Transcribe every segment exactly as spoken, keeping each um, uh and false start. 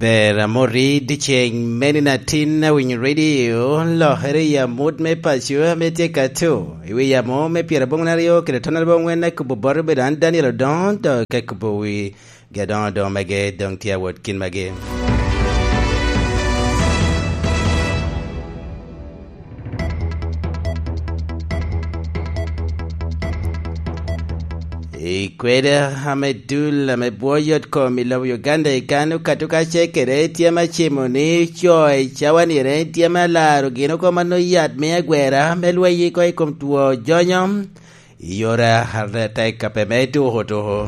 Per amoti dyeceŋ meni na tin awinyo redio, lokere i amut me paco ame tye ka to, i wi amo me pyeraboŋ aryo kede ton aryo angwen, akubo bot obedo an Daniel Odongo, dok ka kubo wi gi adoŋo adoŋo mege doŋ tye awot kin magi. I kweda ame dul ame bwo yot kom i lobo Uganda i kan okato kacel kede tyem acimo ni co i cawa nire tyem alaro gin oko mano yat me agwera me lweny iko i kom two jonyo i yore atek ape me tuko tuko.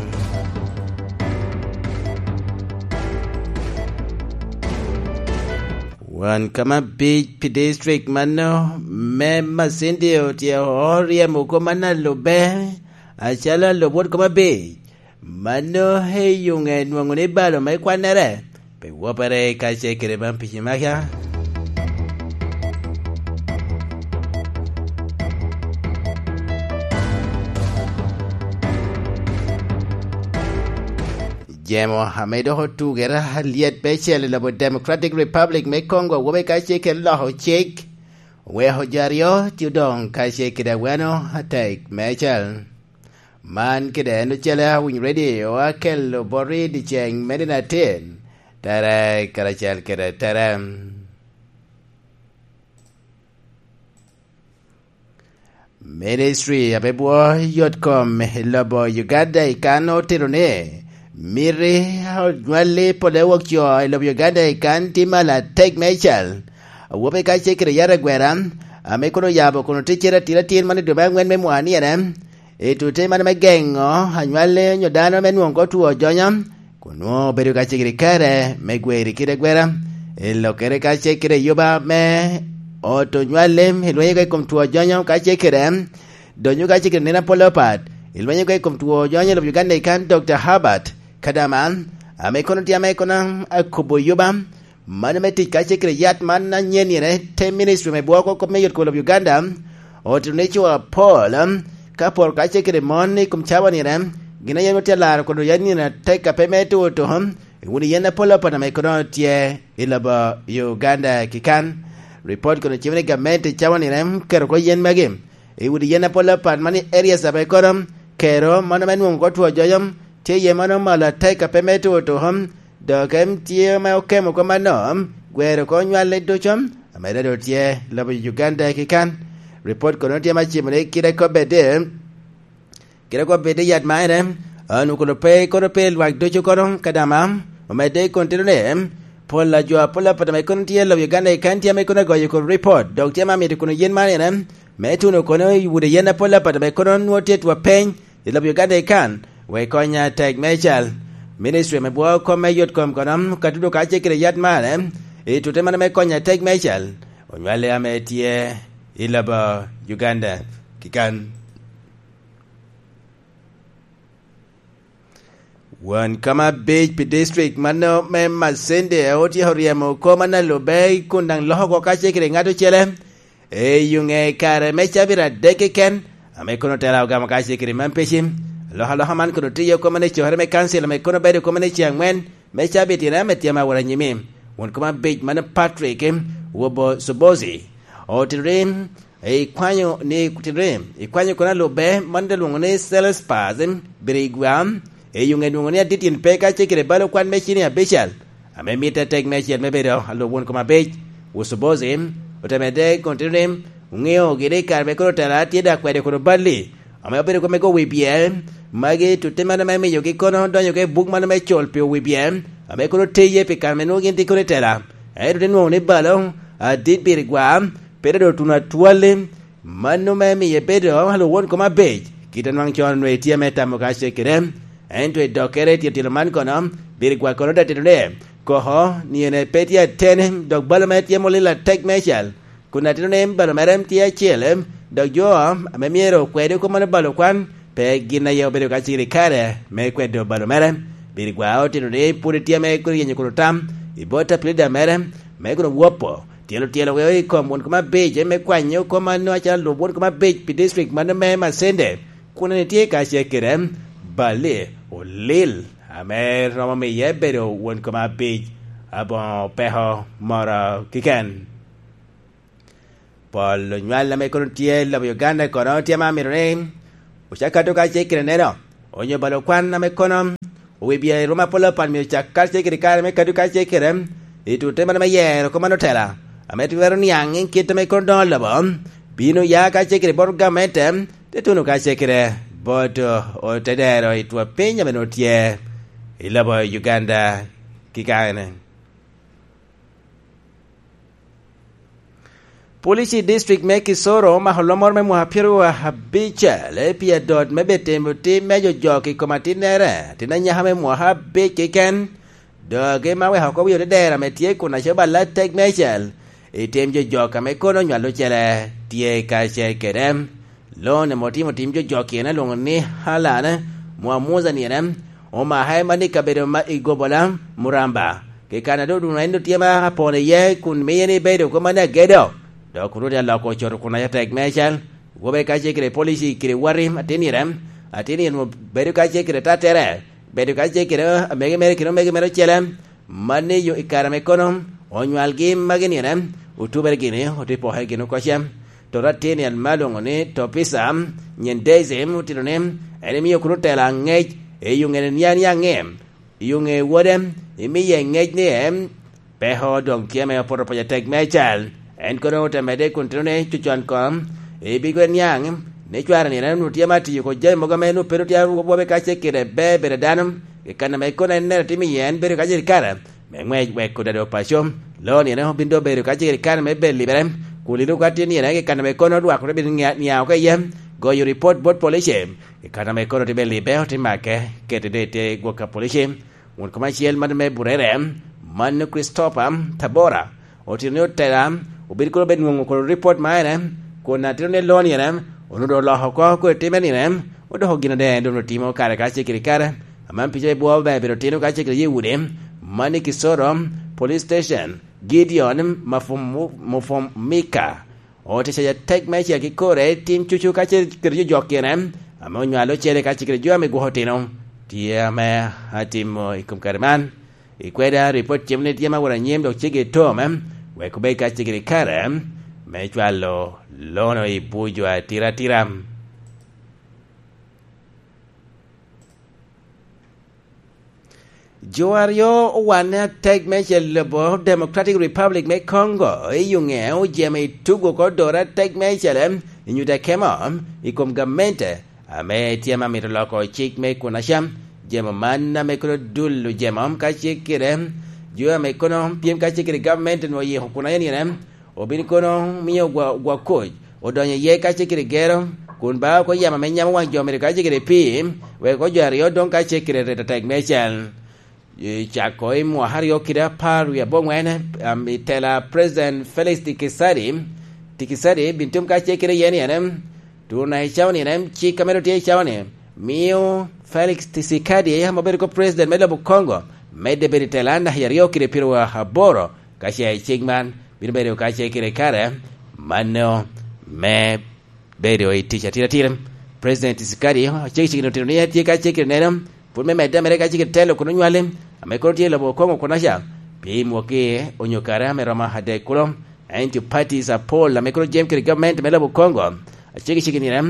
Wan kama bic pi district mano me Masindi otyeko ryemo kop man alubbe, acalo alub wot kop abic, mano eyuŋe nwoŋo ni balo me kwannere, pe wopere kacel kede man pici maka. Jemo ame dok otugere alyet mecel i lobo Democratic Republic me Congo, awobe kacel kede loko cik, oweko jo aryo tye odoŋ kacel kede aweno atek mecel. Man kede en ocele awiny ready oa kelo bot i dyeceŋ me nino atin, tere karacel kede tere. Ministry ame bwo yot kom i lobo Uganda i kan otito ni miti onywalli pole wok co i lobo Uganda i kan tye malo atek mecel. Awobe kacel kede yat agwera ame kono oyabo kono ticcere atir atir man i dwe me angwen me mwaniyene, i tute man me geŋo anywalli onyo dano me nwoŋo ko two jonyo, kun nwoŋo obedo ka cegere kare me gweri kede agwera. I lokere ka cegere yuba me ot onywalli i lwenyo ka i kom two jonyo ka cegere, donyo ka cegere nino apol apat i lwenyo ka i kom two jonyo i lobo Uganda i kan Doctor Herbert Kadama, ame kono tye ame kono akubo yuba, mano me tic kacel kede yat man anyen ire te ministry me bwoko kop me yot kolo Uganda, otito ni co apol, ka pol kacel kede mon i kom cawa nire, gin aye tye alaro kolo yat nino atek ape me tuko tuko, i wun yen apol apat ame kono tye i lobo Uganda kikan. Report kono cimo ni gamente i cawa nire keto ko yen magi, i wun yen apol apat mani areas ape kono kero mano me nwoŋo ko two jonyo, tye iye mano malo atek ape me tuko tuko, dok en tye ame okemo kop mano, gwero oko nywalli ducu, ame dodo tye lobo Uganda kikan. Report kono tye ma cimo ni kite kobedde, kite kobedde yat maire, onwoŋo kono pe, kono pe lwak ducu kono Kadama, omedde i kontiro ni, pol a jo apol apat ame kono tye lobo Uganda kikan tye ame kono agoyo kono report, dok tye ma mito kono yen maire, me tuno kono i wode yen apol apat ame kono nwoŋo tye two peny, i lobo Uganda kikan, wek konya tek mecal. Ministry me bwo kom me yot kom kono, ka tudo ka cekere yat mare, i tute mano me konya tek mecal, onywale ame tye i lobo Uganda kikan. Wan kama bec pi district mano me Masende otyeko ryemo kom analube kun daŋ loko oko ka cekere ŋat ocele, Eyo ŋe kare me cabit adek keken, ame kono tela ogamo ka cekere man peci. Alokaloka man kono tiyo kome ni cokere me kancil ame kono bedo kome ni ce angwen me cabit ira ame tye ma wora nyimi. Won koma bec mano Patrick Wobo Subozi. Otito ni, ikwanyo ni, otito ni, ikwanyo kono alube man de lwongo ni Sales Pass, Birigwa, eyo ŋe lwongo ni adit in pe ka cekere balo kwan me cini abical. Ame mitte tek meicel me bedo alub won kom abic, Usubozi, ote medde kun tito ni, oŋeo gire i kare me kono tela tye dok kwede kono balli, ame obedo kome go wi bye, magi tutte mano me miyogi kono donyo i buk mano me col pi wi bye, ame kono teye pi kare me nwoŋo gin tye kono i tela. Ento te nwoŋo ni balo, adit birigwa, pe dodo tuno atwalli, Mano me miye bedo alwowon kom abec, kit anwaŋ con onwe tye me tamo ka cekere. Ento i dokkere i titino man kono, birigwa kono te tito ni, koko, ni en pe tye ateni, dok balo mere tye molil atek meicel. Kun atito ni balo mere tye acel, dok jo ame myero okwedi kop mano balo kwan, pe gin aye obedo ka ciro i kare me kwedo balo mere. Birigwa otito ni pwod tye ame kono yenyo kono tam, i bot apilida mere, me kono wopo, Tyelo tyelo weo i kom won kom abic me kwanyo kom mano acalo lub won kom abic pi district mano me Masende, kun en tye ka cekere, bali, olil, ame romo miye bedo won kom abic. aboŋo peko moro kiken. Pol onywal ame kono tye i lobo Uganda kono tye ma mito ni ocak kado kacel kede neno, onyo balo kwan ame kono owibia i ruma apol apan myero ocak kacel kede kare me kado kacel kede i tute mano me yero kop man otela, ame twero niaŋ i kit ame kono doŋo lobo bino ya kacel kede bot gamente, te tuno kacel kede bot otedero i twapiny ame nwoŋo tye i lobo Uganda kikane. Polici i district me Kisoro omako lomoro me mwaka pyero abicel pi adot me bed timo tim me jojok i kom atinnere, atin anyaka me mwaka abic keken. Doŋ gin ma weko oko wi odedero ame tye kun acobal atek meicel i tim jojok ame kono onywalo ocele tye kacel kede. Lone ame otimo tim jojok ene alwoŋo ni Halan Muamuza nire, omake man i kabedo ma i Gobola, Muramba, kikane doŋ dun en tye ma apon iye kun miye ni bedo kop man agedo. Dok kun rwodi aloko ocoto kun atek meicel, wobe kacel kede polici kede wati atin nire, atin nire bedo kacel kede tattere, bedo kacel kede amege mere kede omege mere ocele, man i yo i kare ame kono onywalgi magi nire, otubere gini, ote poke gini oko cem. To atin nire ma lwoŋo ni Topisa, nyen Daisy, otito ni en emio kun otelo aŋec, i yo ŋene niaŋ niaŋ ni, i yo ŋe wode, imiye ŋec ni en peko doŋ tye ame opwodo pwoc atek meicel. En kono ote medde kun tito ni cucon koŋ, ibigwe niaŋ, ni cware nire onwoŋo tye ma tiyo ko jami mogo ame onwoŋo pe tye awobe kacel kede ber bedo dano, i kan ame kono en nere timo iye en bedo kacel kare me ŋwec wek odado paco. Loo nire obin doŋ bedo kacel kare me bed libere, kun lino ka tye nire i kan ame kono lwak ote bino nia-, niaŋ oko iye, goyo ripot bot polici, i kan ame kono tye bed libe ote make, kete doŋ i te gwok a polici. Wun kom acel man me Burere, man Christopher Tabora, otito ni otela, obin kono obed nwoŋo kono ripot ma ene, kun atito ni loo nire, onwoŋo doŋ oloko oko kodi timme nire, odoko gin ade doŋ otimo kare kacel kede kare, aman pica i bwo ber bedo tino kacel kede ye udi, man i Kisoro Police Station, Gideon Mafumu-, Mufumika, ote cayo atek meicel ki kore i tim cucu kacel kede jo jok kene, ame onywalo ocele kacel kede jo ame gwoko otino, tye ame atimo i kom kare man. I kweda, ripot cem ni tye ma wot anyim dok ceggi i tom, wek obed kacel kede kare me cwalo lono i buc jo atira atira. Jo aryo owanne atek meicel lobo Democratic Republic me Congo i Yunge ojemo i tugo oko dore atek meicel i nyuto akemo i kom gamente ame tye ma mito loko cik me kun acam. Jemo man ame kono dul ojemo kacel kede jo ame kono pyem kacel kede gamente onwoŋo oyiko kun aye nire obin kono mio gwa-, gwa koc odonyo iye kacel kede gero, kun ba oko yamo ame nyamo waŋ jo mere kacel kede pii, wek ojo aryo doŋ kacel kede reto tek meicel. I cako i mwaka aryo kede apar wie aboŋwen, am, i tela President Felix Tikisadi, Tikisadi bin tum kacel kede yen ene, tun i cawa ni ene, cik ame ru tye i cawa ni, mio Felix Tshisekedi, ame obedo ko president me lobo Congo, medde bedo i tela naka i aryo kede pyero aboro, ka ce i cik man bino bedo ka ce kede kare mano me bedo i tic atira atira. President Tshisekedi ocego cik otito ni en tye ka ce kede neno pwod me medde mere ka ce kede telo kun onywale, ame kono tye i lobo Congo kun aca, pi mwaki onyo kare ame romo adek kulo. Ento parties apol ame kono jam kede gavment me lobo Congo, acego cik nire,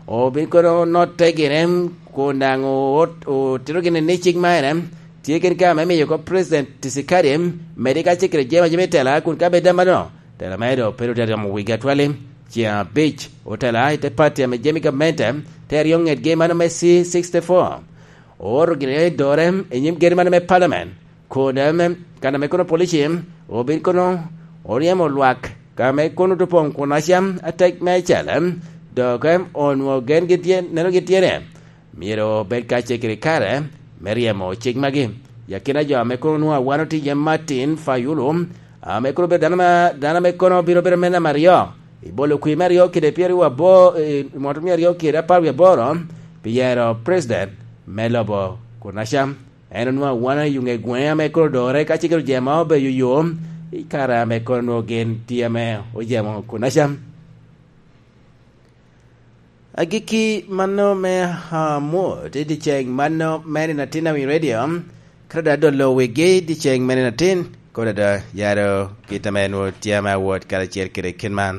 obin kono notte gire, kun daŋ o-, otito gini ni cik ma ene, tye kene ka me miyo oko President Tshisekedi medi ka cik kede jami a jami tela, kun ka bed amano, tela mere doŋ pe ru te romo wigi atwali. Ceŋ abic, otela i te party ame jami gamente, te aryo ŋetgi mano me C sixty-four. Ooro gire dore i nyim geri mano me parliament, kun eme, kan ame kono polici, obin kono oryemo lwak, ka me kono dopoŋ kun acam atek me acel, dok onwoŋo gen gitye, neno gitye ni, myero obed ka cegere kare me ryemo cik magi. I akina jo ame kono nwoŋo awano tye iye Martin Fayulu, ame kono obedo dano ma, dano ame kono bino bedo me namba aryo, i bolo kwir me aryo kede pyeraryo aboro, i mot me aryo kede apar wie aboro, pi yero president me lobo kun acam. En onwoŋo awana i yuŋe gweŋe ame kono odore ka cegere ojemo obedo yo, i kare ame kono nwoŋo gin tye ame ojemo kun acam. Agikki mano me amut i dyeceŋ mano me nino atin a wi redio, kadi dolo wigi dyeceŋ me nino atin, Pwod ada, ya doŋ kit ame nwoŋo tye ame awot karacel kede kit man.